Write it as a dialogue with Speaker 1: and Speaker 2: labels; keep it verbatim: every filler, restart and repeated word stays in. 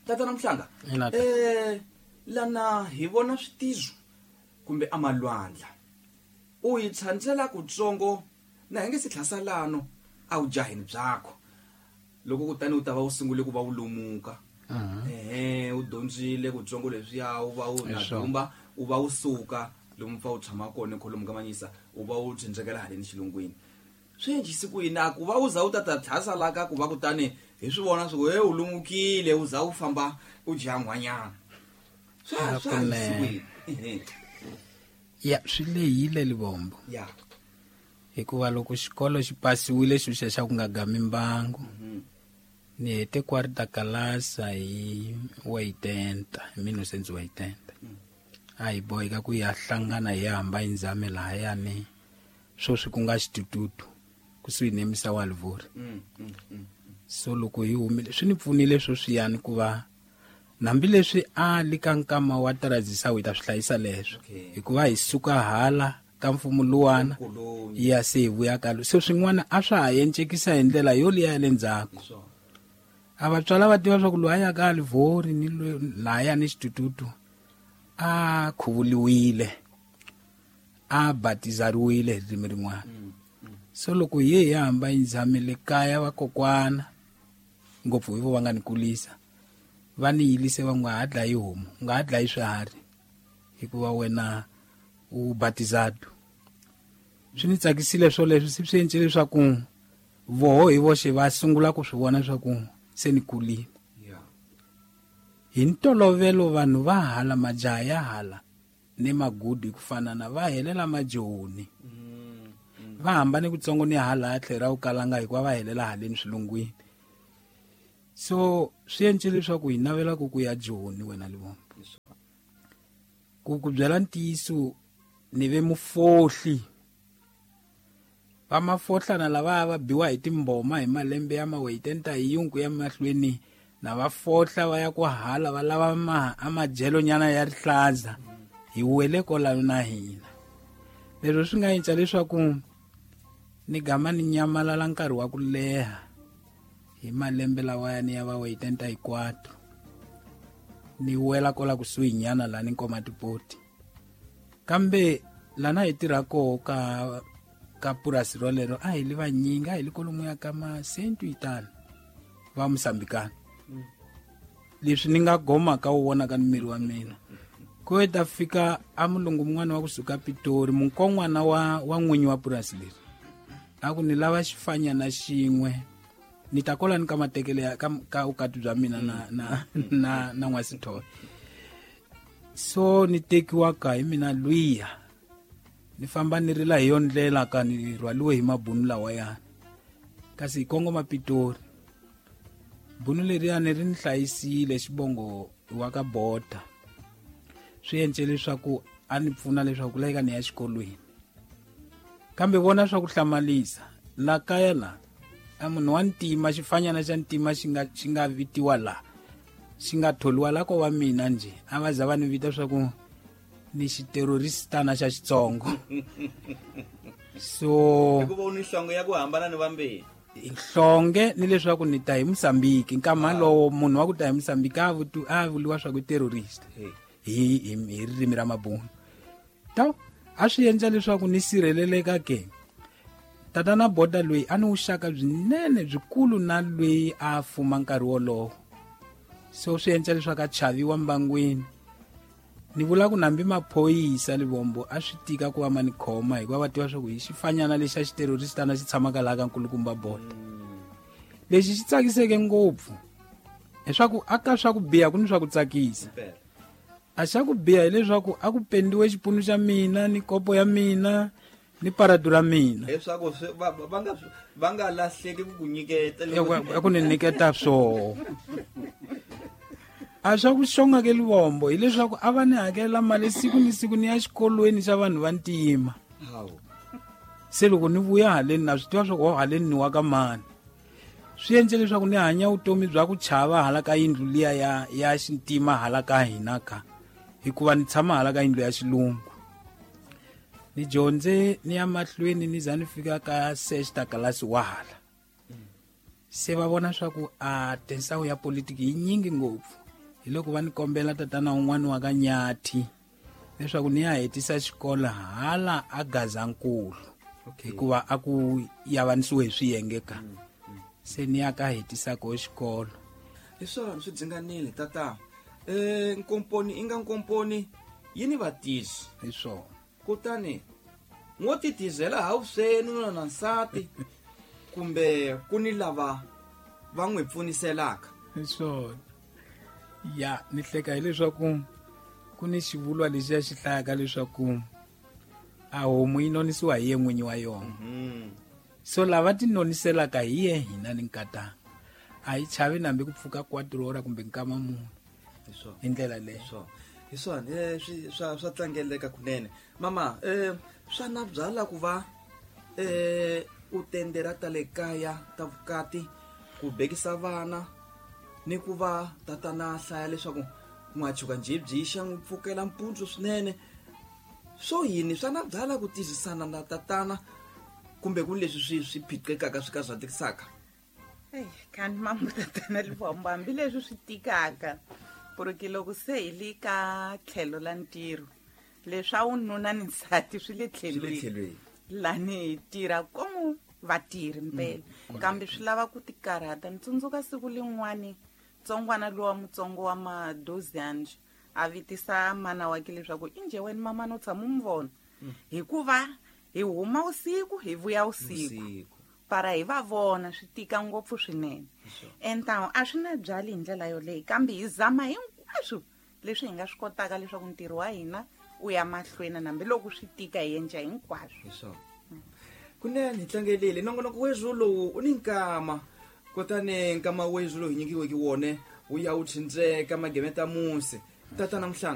Speaker 1: Tatana Mhlanga, eh lana hi vona switizo kumbe amalwandla. U yi tshandzela kutsongo na hi nge se tlhasalano a wu jaheni byakho. Loko kutani u ta va u sungule ku va u lumuka. Eh u dyondzile kutsongo leswiya u va u na dumba u va u suka lomu fa u tshama kona kholomu ka manyisa u va u tsindzekela haleni xilungwini. Swi endlise ku yini ku va u za u tata tlhasala ka ku va kutani hi swi vona swi he u lumukile u za u famba u dya n'wanyana. Swa swa endlise
Speaker 2: ya swi lehile Livombo.
Speaker 1: Ya.
Speaker 2: Hikuva loko xikolo xi pasiwile xo xa ku nga gami mbangu. Ni hete quarta kalasa hi waitenta, hi mille novecentos e oitenta. A hi boheka ku ya hlangana hi hamba inzame lahayani sweswi ku nga xitututu kusuhi ni misa wa Livori. So loko hi humile swi ni pfunile sweswiyani ku va hambileswi a li ka nkama wa tarazisa hi ta swi hlayisa leswo hikuva hi suka hala ka mfumo luwana ya se hi vuya ka so swin'wana a swa ha encekisa hi ndlela yo liya ya le ndzhaku. A vatswala va tiva swa ku loyi a ya ka Livori ni laya ni xitututu a khuvuliwile a batizariwile hi ririmi rin'wana. So loko hi ye hi hamba inzamele kaya vakokwana ngopfu hi vo va nga ni kulisa va ni yilise va nga ha dlayi homu u nga ha dlayi swiharhi hikuva wena u batizado. Swi ni tsakisile swoleswo swi swi endle leswaku voho hi voxe va sungula ku swi vona leswaku se ni kulile. Hi ntolovelo vanhu va hala majaha ya hala ni magudu hi ku fanana va helela majoni. Va hambane kutsongo ni hala tlhela u kalanga hikuva va helela haleni swilungwini. So swi endle leswaku hi navela ku ku ya Joni wena Livombo. Ku ku byela ntiyiso ni ve mufohli. Va mafohlana lava va biwa hi timboma hi malembe ya maweitenta hi yungu ya mahlweni na va fohla va ya ku hala va lava ma amajelo nyana ya rihlaza hi wele kolano na hina. Leswi swi nga endla leswaku ni gama ni nyamalala nkarhi wa ku leha hi malembe lawa ya va weitenta hinkwato ni wela kola kusuhi nyana la ni nkoma tipoti. Kambe lana hi tirha koho ka ka purasi rolero a hi li vanyingi a hi li kolomu ya ka masentu itano va Mosambikana. Leswi ni nga goma ka wu vona ka miri wa mina ku ta fika a mulungu mun'wana wa kusuka Pitori munkon'wana wa wa n'winyi wa purasi leri a ku ni lava xifanyana xin'we ni ta kola ni ka matekele ya ka ka vukati bya mina na na na na n'wasithole. So ni tekiwa ka hi mina luya ni famba ni rila hi yo ndlela ka ni rhwaliwe hi mabunu lawayani kasi hi kongoma Pitori. Bunu leriyani ri ni hlayisile xivongo wa ka Bota. Swi endle leswaku a ni pfuna leswaku ku laveka ni ya xikolweni. Kambe vona swa ku hlamalisa la kaya la a munhu wa ntima xifanyana xa ntima xi nga xi nga vitiwa la xi nga tholiwa la ko va mina nje a va za va ni vita swa ku ni xiteroristana xa Xitsongo. So
Speaker 1: hikuva u ni nhlonge ya ku hambana ni vambirhi
Speaker 2: nhlonge ni leswaku ni ta hi Mosambiki nkama lowo munhu wa ku ta hi Mosambiki a a vuliwa swa ku terrorist hi hi ririmi ra mabunu. Ta a swi endla leswaku ni sirheleleka ke. Tatana Boda loyi a ni vuxaka byinene byikulu na loyi a fuma nkarhi wolowo. So swi endla leswaku a chaviwa mbangwini. Ni vula ku nambi maphorisa Livombo a swi tika ku va ma ni khoma hikuva va tiva swa ku hi xifanyana lexi a xiteroristana xi tshamaka laha ka nkulukumba Boda. Lexi xi tsakiseke ngopfu leswaku a ka swa ku biha ku ni swa ku tsakisa. A xa ku biha hileswaku a ku pendiwe xipunu xa mina ni kopo ya mina ni paradu ra mina
Speaker 1: leswaku va va nga va nga lahleki ku ku nyiketa
Speaker 2: ku ni nyiketa swoho. A swa ku xonga ke Livombo hileswaku a va ni hakela mali siku ni siku ni ya xikolweni xa vanhu va ntima. Se loko ni vuya haleni na swi tiva swa ku haleni ni wa ka mani. Swi endle leswaku ni hanya vutomi bya ku chava hala ka yindlu liya ya ya xintima hala ka hina ka hikuva ni tshama hala ka yindlu ya xilungu. Ni dyondze ni ya mahlweni ni za ni fika ka sexta kalasi wa hala. Se va vona swa ku a tinsawu ya politiki yi nyingi ngopfu. Hi loko va ni kombela tatana un'wana wa ka Nyathi leswaku ni ya hetisa xikolo hala a Gazankulu.
Speaker 1: Okay.
Speaker 2: Hikuva a ku yavanisiwe hi swiyenge ka. Se ni ya ka hetisa ko xikolo.
Speaker 1: Hi swona swi dzinganile tata. Eh nkomponi i nga nkomponi yi ni vatisi.
Speaker 2: Hi swona.
Speaker 1: Kutani ngo titizela hawuseni nuna na nsati kumbe ku ni lava va n'wi pfuniselaka.
Speaker 2: Hi swona. Ya ni hleka hileswaku ku ni xivulwa lexiya xi hlayaka leswaku a homu yi nonisiwa hi ye n'winyi wa yona.
Speaker 1: Mm.
Speaker 2: So lava ti noniselaka hi ye hina ni nkatanga. A yi chavi nambi ku pfuka quatro hora kumbe nkama mune.
Speaker 1: Hi swona.
Speaker 2: Hi ndlela leyo.
Speaker 1: Hi swona. Hi swona, eh, swi, swa, swa tlangeleka kunene. Mama, eh, swa na byala ku va, eh, u tendera ta le kaya ta vukati ku bekisa vana ni ku va tatana hlaya leswaku n'wachuka njhe xa n'wi pfukela mpundzu swinene. Swo yini swa na byala ku tizisana na tatana kumbe ku leswi swi swi phiqekaka swi ka swa tikisaka?
Speaker 3: Ei, kani mambo tatana Livombo, hambileswi swi tikaka porque loko se hi le ka tlhelo la ntirho leswa wununa ni nsati swi le
Speaker 1: Swi le
Speaker 3: tlhelweni.
Speaker 1: tlhelweni.
Speaker 3: Lani hi tirha komu vatirhi mpela.
Speaker 2: Mm.
Speaker 3: Kambe swi lava ku tikarhata. Ni tsundzuka siku lin'wani ntsongwana lowa mutsongo wa madoziyani a vitisa mana wa ke leswaku injhe wena mama no tshama u n'wi vona.
Speaker 1: Mm.
Speaker 3: Hikuva hi huma usiku hi vuya usiku.
Speaker 1: Usiku.
Speaker 3: Para hi va vona swi tika ngopfu swinene.
Speaker 1: Sure.
Speaker 3: Entawu a swi na byali hi ndlela yoleyo kambe hi zama hinkwaswo leswi hi nga swi kotaka leswaku ntirho wa hina wu ya mahlweni hambiloko swi tika hi endla hinkwaswo.
Speaker 1: Hi swona. Kunene hi tlangelile nongonoko wethu lowu u ni nkama. Kutani nkama wethu lowu hi nyikiweke wona wu ya wu tshindzeka magemeta musi. Tatana Mhlanga,